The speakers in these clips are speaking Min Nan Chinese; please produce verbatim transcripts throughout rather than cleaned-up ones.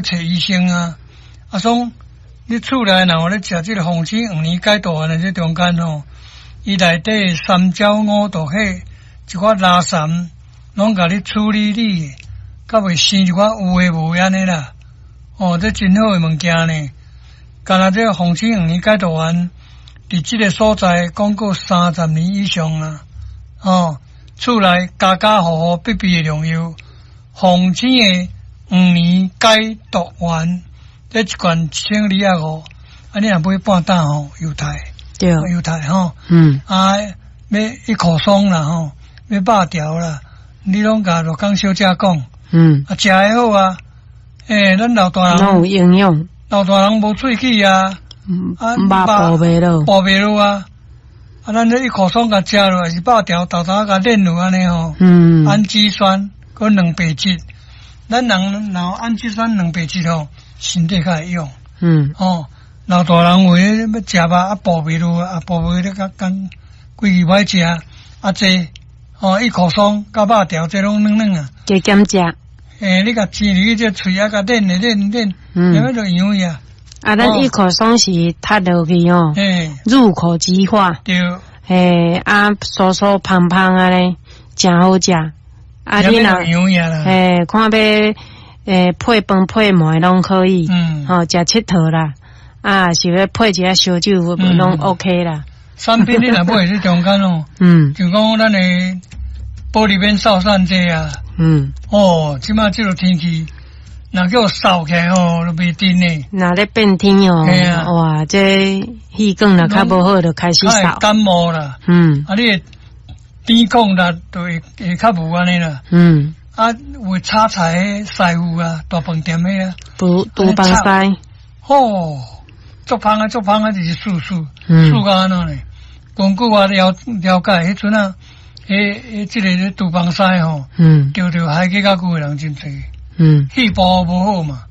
揣醫生啊。啊，爽你厝內若有咧食這個鳳子黃連解毒丸的這中間吼，伊內底三焦五毒彼一寡垃圾，攏共你處理你，較袂生一寡有的無的按呢啦。哦，這真好的物件呢。敢若這個鳳子黃連解毒丸，佇這個所在講過三十年以上啊。哦，厝內家家戶戶必備的良藥，鳳子的黃連解毒丸，這一罐一千二仔五，啊，你若買半擔吼，猶太，對，猶太吼，嗯，啊，欲一口爽啦吼，欲肉條啦，你攏共羅江小姐講，嗯，啊，食會好啊，欸，咱老大人，攏有營養，老大人無喙齒啊，啊，肉補袂落，補袂落啊。啊，咱這一口爽共食落，是肉條豆豆共煉落按呢吼，嗯，氨基酸閣蛋白質，咱人若有氨基酸蛋白質吼，身體較會用，嗯，哦，老大人有的欲食肉啊，補袂落啊，補袂落較工規氣歹食，啊這哦一口爽佮肉條這攏軟軟啊，加減食，欸，你共煎入去這喙仔共練咧練練，嗯，啥物就營養啊。啊，咱一口爽是踢落去哦，入口即化，對，嘿，啊，酥酥芳芳按呢，誠好食。啊，你若，嘿，看欲欸配飯配糜攏可以，嗯，吼，食𨑨迌啦，啊，是欲配一下燒酒，攏 OK 啦。產品你若買佇中間哦，嗯，就講咱的玻璃免掃散這啊，嗯，哦，這馬這個天氣。若叫掃起來吼，就袂振呢。若咧變天哦，啊，哇，這氣管若較無好，就開始掃。感冒啦，嗯，啊，你的抵抗力就會會較無按呢啦。嗯，啊，有炒菜的師傅啊，大飯店的啊，廚廚房師，吼，足芳啊，足芳啊，就是欶欶，欶到按怎呢？根據我了了解，彼陣啊，彼彼這個廚房師吼，嗯，著著海氣較久的人真濟。嗯，肺部無好嘛，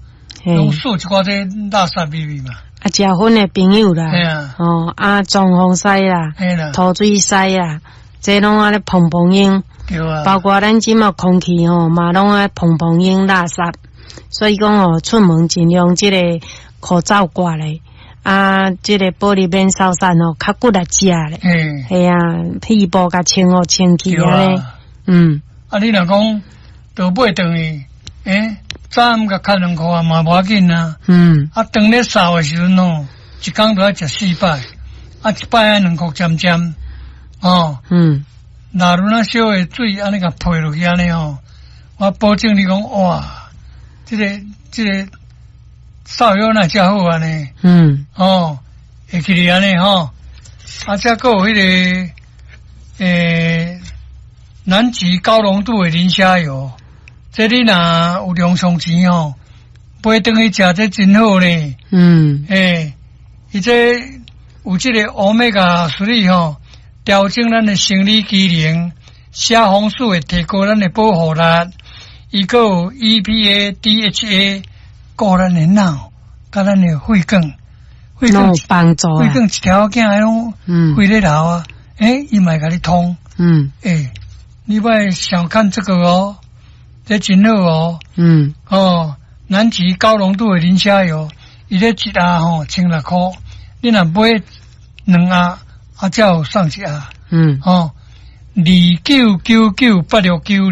攏欶一寡這垃圾味味嘛。啊，食薰的朋友啦，嘿啊，哦，啊，裝潢師啦，嘿啦，塗水師啦，這攏按呢膨膨煙，對啊，包括咱這馬空氣吼嘛攏愛膨膨煙垃圾，所以講哦，出門盡量這個口罩掛咧，啊，這個保利免掃散哦，較骨力食咧，嘿，嘿啊，肺部共清予清氣按呢，嗯，啊，你若講倒買轉去。欸，早暗共較兩箍啊嘛無要緊啊。嗯。啊，當咧掃的時陣吼，一工著愛食四擺，啊，一擺愛兩箍針針，哦。嗯。若如那小的水按呢共潑落去按呢吼，我保證你講哇，這個這個掃藥哪遮好按呢？嗯。哦，會記得按呢吼，啊，這閣有彼個欸，南極高濃度的磷蝦油。這你若有零用錢吼，買轉去食這真好呢。嗯，欸，伊這有這個 Omega three 吼，調整咱的生理機能，蝦紅素會提高咱的保護力，伊閣有 E P A、D H A，顧咱的腦，佮咱的血管，血管有幫助。血管一條仔彼攏血咧流啊，欸，伊嘛會共你通。嗯，欸，你莫小看這個哦。這真好哦，嗯，哦，南極高濃度的磷蝦油，伊咧一盒吼千六箍，你若買兩盒，啊，才有送一盒，嗯，哦，二九九九八六九二，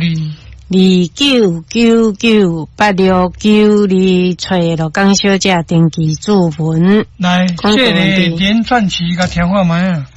二九九九八六九二，揣羅江小姐登記注文。來，這個連串詞共聽看覓啊。